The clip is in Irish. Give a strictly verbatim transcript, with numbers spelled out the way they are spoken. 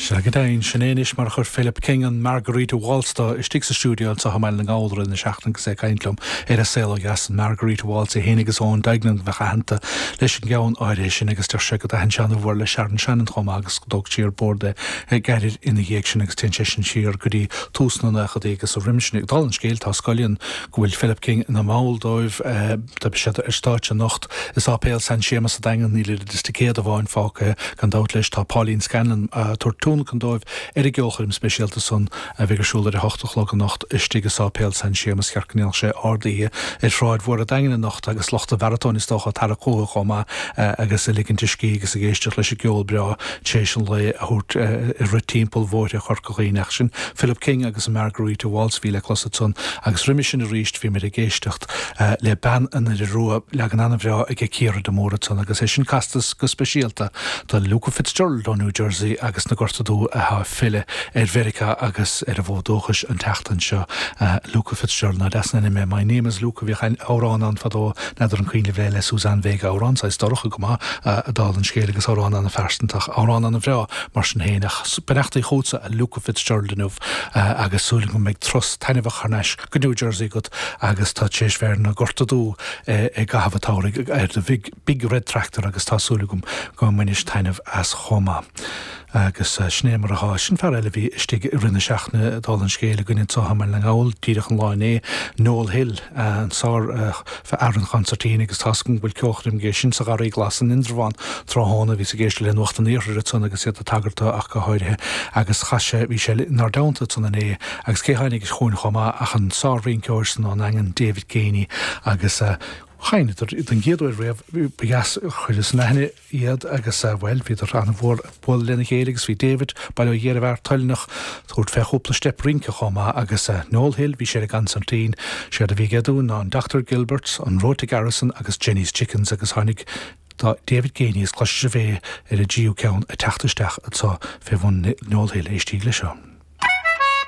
Sea go deimhin, sin é anois mar a chuir Philip King an Margarita Waltz dó istigh sa stiúideo anseo i mBaile na nGall i rith na seachtaine agus é ag caint liom ar a saol ó dheas, an Margarita Waltz é féin agus Eoin Duignan a bheadh aitheanta leis an gceann áirithe sin agus deir sé go dtaithin sé an-mhór le Sharon Shannon chomh maith agus go dtóg sí ar bord é gairid ina dhiaidh sin agus téann sé sin siar go dtí tús na nóchaidí agus roimhe sin. Dála an scéil, tá scoileanna go bhfuil Philip King ina mball dóibh, tá siad ar stáitse anocht i Sáipéal San Séamas sa Daingean, níl oiread is ticéad amháin fágtha gan dabht leis, tá Pauline Scanlon ag tabhairt tionlacan dóibh ar an gceolchoirm speisialta san a bheidh ar siúl ar a hocht a chlog anocht istigh i Sáipéal San Séamas. Cheart go ndéanfadh sé ard-oíche ar Shráid Mhór an Daingin anocht agus lucht an mharatóin is dócha ag tarrac chucu chomh maith agus ag ligint a scíth agus ag éisteacht leis an gceol breá tar éis an lae a thabhairt ag rith timpeall bhóithre Chorca Dhuibhne. Ach sin Philip King agus an Margarita Waltz a bhí le clos ansan agus roimhe sin arís bhí muid ag éisteacht le Bean an Doire Rua, leagan an-bhreá aige Ciara de Mórdha ansan agus é sin casta go speisialta do Luca Fitzgerald ó New Jersey agus na Gorta Dubha atá ag filleadh ar Mheiriceá agus ar a bhfód dúchais an tseachtain seo. Luca Fitzgerald, nach deas an ainm é? My name is Luca, bhíodh amhrán ann fadó, n'fheadar an cuimhin libh é, le Suzanne Vega, amhrán saghas dorcha go maith, dála an scéil agus amhrán an-phearsanta ach amhrán an-bhreá mar sin féin. Ach beannachtaí chugatsa a Luca Fitzgerald inniu agus súil agam go mbeidh turas taitneamhach thar n-ais go New Jersey agat agus tá tar éis bheith ar na Gorta Dubha i gcaitheamh an tsamhraidh ar do Big Red Tractor agus tá súil agam go mbainis taitneamh as chomh maith. Agus sin é mar atá. Sin fear eile a bhí istigh i rith na seachtaine, dála an scéil, againn anseo i mBaile na nGall, díreach an lá inné, Noel Hill, an sár fhear an chonsairtín agus tá's agam go bhfuil ceolchoirm aige sin sa Gharraí Glas in Indreabhán tráthnóna. Bhíos ag éisteacht le Nuacht an Iarthair ansan agus iad ag tagairt dó ach go háirithe agus chas sé, bhí sé inár dteannta ansan inné agus cé tháinig chugainn chomh maith ach an sár-rinceoir san ón nDaingean, David Geaney agus sheinneadar don gcéad uair riamh, ba dheas chuireas in aithne iad agus, bhuel, bhíodar an-mhór ag bualadh lena chéile agus bhí David, bail ó Dhia ar an bhfear, toilteanach tabhairt fé chúpla steip rince chomh maith agus Noel Hill, bhí sé ar an gconsairtín, séard a bhí aige dúinn ná an Doctor Gilbert's, an Road to Garrison agus Jenny's Chickens agus tháinig David Geaney, is cloisfidh sibh é ar an dtríú ceann ag teacht isteach anseo fé bhun Noel Hill, éistíg leis seo.